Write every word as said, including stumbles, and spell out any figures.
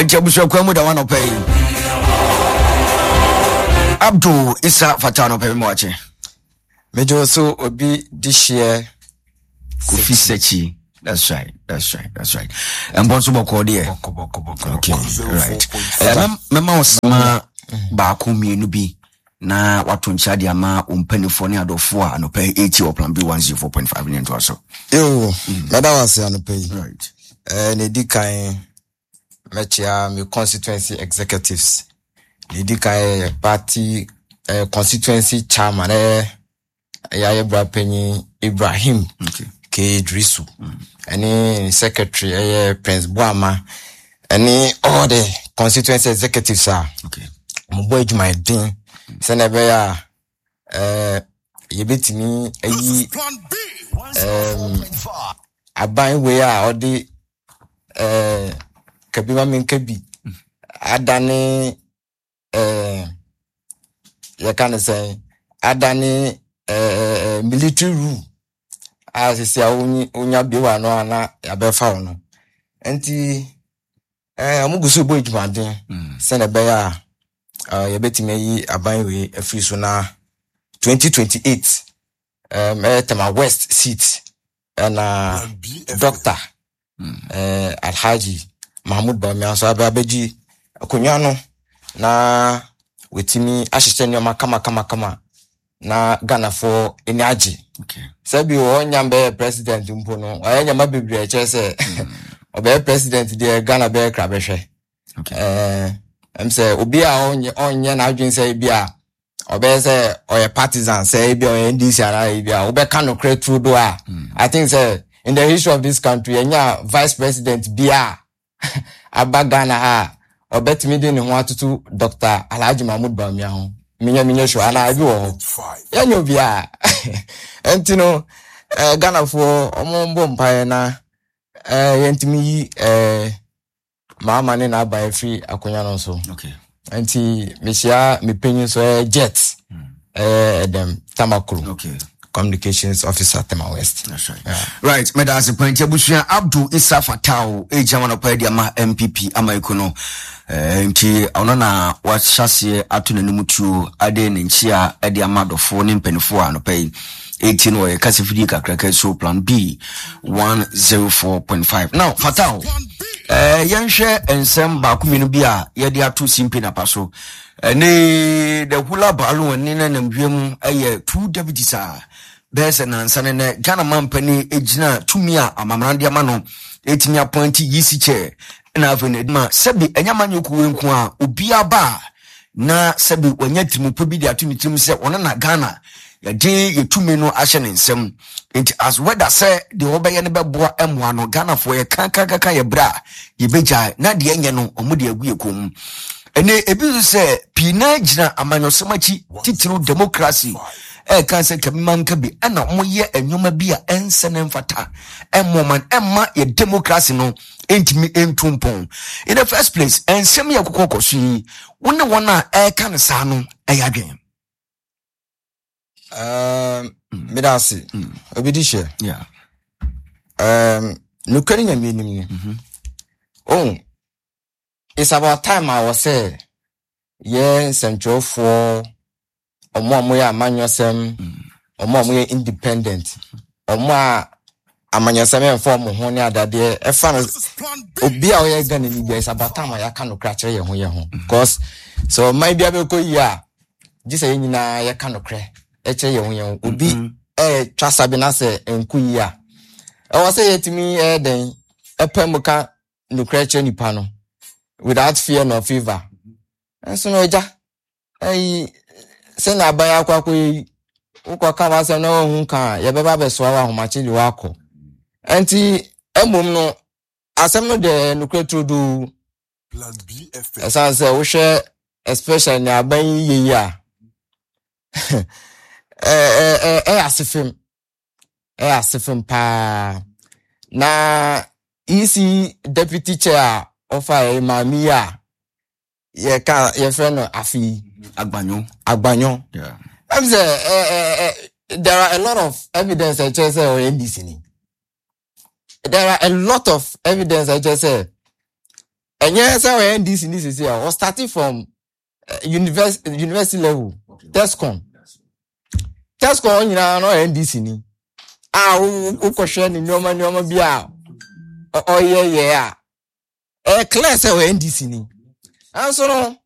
Nti abusuakuo mu da wa nɔpɛ yi, Abdul Isa Fata, nɔpɛ bi mu wakye. Megye so, obi de hyeɛ. Kofi Sekyi. That's right, that's right, that's right. Ɛmbɔ nso bɔkɔɔ deɛ. Okay, right. Mɛma wo sema baako mmienu bi na wato nkyia de ama wo mpanimfoɔ ne adɔfoɔ a anɔpɛ ɛti wɔ Plan B one oh four point five ne ntoa so. Yo, mɛda wo ase anɔpɛ yi. right. Eh, na ɛdi kan, mɛkyia me constituency executives. Na ɛdi kan yɛ party eh, constituency chairman, ɛyɛ ɛyɛ bra panyin Ibrahim okay. K Drisu, ɛne ne secretary ɛyɛ Prince Boama, ɛne all the constituency executives a okay. mobɔ adwumayɛden sɛnea ɛbɛyɛ a eh, yɛbɛtumi ayi um, aban wei a ɔde eh, kabi ma menka bi adane, eh, yɛka ne sɛn, adane eh, military rule a sisi a wonyi- wonya bi wɔ ano a na yɛabɛfa wo no. Nti eh, ɔmo gu so bɔ adwumaden Mm. sɛnea ɛbɛyɛ a uh, yɛbɛtumi ayi aban wei afiri so na twenty twenty-eight um, ɛyɛ Tema West seat ɛna Doctor eh, Alhaji Mahmood Bawumia nso abɛ abɛgye akonnwa no na wɔtumi ahyehyɛ nneɛma kamakamakama na Ghanafoɔ ani agye. Okay. Sɛbi ɔnya bɛyɛ president mpo no, ɔyɛ nneɛma bebree a ɛkyerɛ sɛ ɔbɛyɛ president deɛ, Ghana bɛyɛ kra bɛhwɛ. Okay. ɛɛ ɛm sɛ obi a ɔnyɛ ɔnyɛ n'adwene sɛ ebi a ɔbɛyɛ sɛ ɔyɛ partisan, sɛ ebi a ɔyɛ N D C anaa ebi a wobɛka nokorɛ turu do a, I think sɛ in the history of this country, yɛnya vice president bi a aba Ghana ha a ɔbɛtumi de ne ho atoto Doctor Alhaji Mahmood Bawumia ho, menyɛ menyɛ sure anaa ebi wɔ hɔ. Yɛnyɛ obiara. Nti no ɛɛ Ghanafoɔ, ɔmo mbɔ mpaeɛ na ɛɛ yɛntumi yi ɛɛ Mahama ne n'aban afiri akonnwa no so. Okay. Nti mehyia me panyin so, ɛyɛ Jet, ɛyɛ Ɛdɛm Tamakuro, Okay. communications officer, Tema West. That's right. Right, meda ase pɛnti abusua. Abdul Isa Fatao ɛgyina ma nɔpa de ama N P P ama eko no. Eh, nti ɔno na wahyɛ aseɛ ato n'anim tuo ade ne nkyia de ama adɔfoɔ ne mpanimfoɔ a anɔpa yi ɛti no ɔyɛ kasa fidie kakraka so Plan B one oh four point five. Now Fatao, eh, yɛnhwɛ nsɛm baako mmienu bi a yɛde ato simpe napa so ɛne the hula balloon ne nanam wiem ɛyɛ two deputies a bɛyɛ sɛ nansa ne nɛ Ghana mampani gyina tumi a amamra de ama no ɛtumi appoint E C chair, ɛna afei no ma sɛbi ɛnyɛ ma nyɛ kuwe nko a obiara ba a na sɛbi wanya tirimupɔ bi de ato ne tirim sɛ ɔno na Ghana yɛde yɛtumi no ahyɛ ne nsam. Nti as whether sɛ deɛ wɔbɛyɛ no bɛboa mmoa no Ghanafoɔ, yɛ kakakaka yɛ berɛ a yɛbɛgyae na deɛ ɛnyɛ no ɔmo de agu yɛ kɔn mu. Ɛnɛ ebi nso sɛ pii naa gyina amanyɔsɛm akyi, titiriw democracy, ɛɛka sɛ kabima nka bi ɛna wɔyɛ nneɛma bi a ɛnsɛ ne mfata ɛmmɔ man ɛmma yɛ democracy no ɛntumi ɛntu mpɔn. In the first place, ɛnsɛm yɛ kɔkɔ kɔ so yi, wo ne wɔn a ɛɛka no saa no ɛyɛ adwene? Um, meda ase, obi di hyɛ. yeah. um, nokorɛ ne Nyame anim ni oh, it's about time a wɔ sɛ yɛ nsɛntwerɛfoɔ, ɔmo a moyɛ amanyɔsɛm, ɔmo a moyɛ independent, ɔmo a amanyɔsɛm ɛmfa ɔmo ho ne adadeɛ ɛfa no, obi a ɔyɛ Ghana ni bia, it's about time a yɛaka nokorɛ akyerɛ yɛn ho yɛn ho, because sɛ ɔman bi abɛkɔ yie a, gye sɛ yɛn nyinaa yɛka nokorɛ ɛkyerɛ yɛn ho yɛn ho. Obi ɛɛtwa sabi na sɛ nko yie a, ɛwɔ sɛ yɛtumi ɛyɛ dɛn ɛpɛ mu ka nokorɛ kyerɛ nipa no without fear nor favour. Nso no, agya, ɛyi sɛnea aban akɔ akɔyɛ yi, wokɔka w'asɛm na wahu ka a, yɛbɛba abɛsoa wɔ ahomakye de wakɔ. Nti mmom no, asɛm no deɛ, nokorɛ turodoo. Ɛsiane sɛ wohwɛ, especially nea aban yi yɛ yi a, ɛ- ɛ- ɛ- ɛyɛ ase fam, ɛyɛ ase fam paa. Na E C deputy chair a ɔfa yɛ maame yi a yɛka yɛfrɛ no Afi Agbanyo. Agbanyo. Yeah. Ɛm sɛ ɛ ɛ ɛ there are a lot of evidence a ɛkyerɛ sɛ ɔyɛ N D C ni. There are a lot of evidence a ɛkyerɛ sɛ Ɛnyɛ sɛ ɔyɛ N D C ni sisi a ɔstart from university university level, TESCON TESCON nyinaa no, ɔyɛ N D C ni a wokɔhwɛ ne nneɛma nneɛma bi a ɔyɛ yɛ a, ɛyɛ clear sɛ ɔyɛ N D C ni. Nanso no